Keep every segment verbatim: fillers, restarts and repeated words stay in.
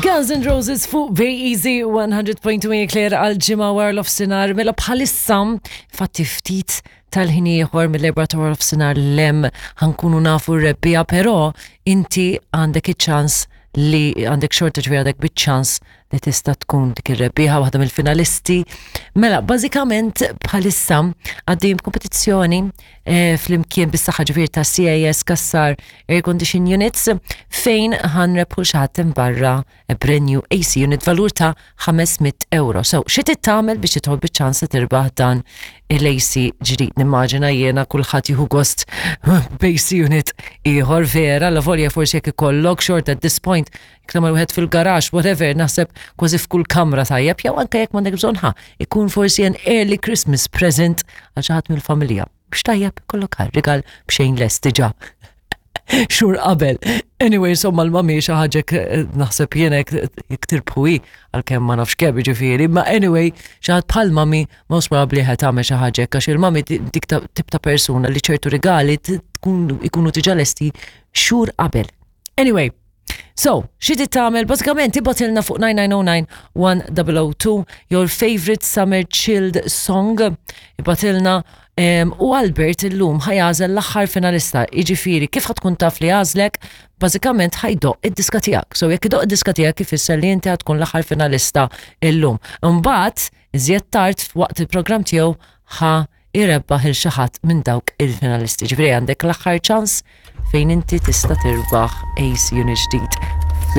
Guns N' Roses fuq Bay Easy one hundred point two Claire għal ġimgħa wara nofsinhar. Mela bħalissa, fatti ftit tal-ħin ieħor mill-erbgħa ta' wara nofsinhar 'l hemm ħa nkunu nafu r-rebbieħa, però inti għandek iċ-ċans li għandek xorta, ġifieri għandek biċ-ċans li tista' tkun dik ir-rebbieħa, waħda mill-finalisti. Mela, bażikament bħalissa għaddejjem kompetizzjoni eh, flimkien bis-saħħa ġifieri ta' C A S Cassar Air Condition Units fejn ħa nrebbħu xi ħadd barra a brand new A C unit valur ta' ħames mitt euro. So, xi trid tagħmel biex tidħol biċ-ċans li tirbaħ dan il-A C ġdid? Nimmaġina jiena kulħadd jieħu gost b'A C unit ieħor vera, la volja forsi jekk ikollok xorta at this point jekk tagħmel wieħed fil-garax, whatever, naħseb kważi f'kull kamra tajjeb, jew anke jekk m'għandek bżonn ħa, ikun forsi an early Christmas present għal xi ħadd mill-familja. Biex tajjeb, kollok rigal b'xejn lest diġà xhur qabel. Anyway, insomma, l-mami xi ħaġa naħseb jiena jekk tirbħu hi, għalkemm ma nafx kemm ġifieri, ma anyway, xi ħadd bħal mami most probably ħa tagħmel xi ħaġa għax il-mami dik tip ta' persuna li ċertu rigali tkun ikunu diġà lesti xhur qabel. Anyway, so, xi trid tagħmel? Bażikament ibgħatilna fuq nine nine zero nine one zero zero two your favorite summer chilled song. Ibgħatilna um, u Albert illum ħa jagħżel l-aħħar finalista. Jiġifieri kif ħa tkun taf li għażlek? Bażikament ħa jdoqq id-diska tiegħek. So jekk idoqq id-diska tiegħek ifisser li inti ħa tkun l-aħħar finalista illum. Imbagħad iżjed tard waqt il-programm tiegħu ħa jrebbaħ lil xi ħadd minn dawk il-finalisti. Ġifieri għandek l-aħħar ċans fejn inti tista' tirbaħ A C unit ġdid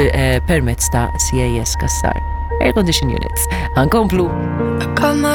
eh, permezz ta' C A S Cassar Air Condition Units. Ħa nkomplu. I got my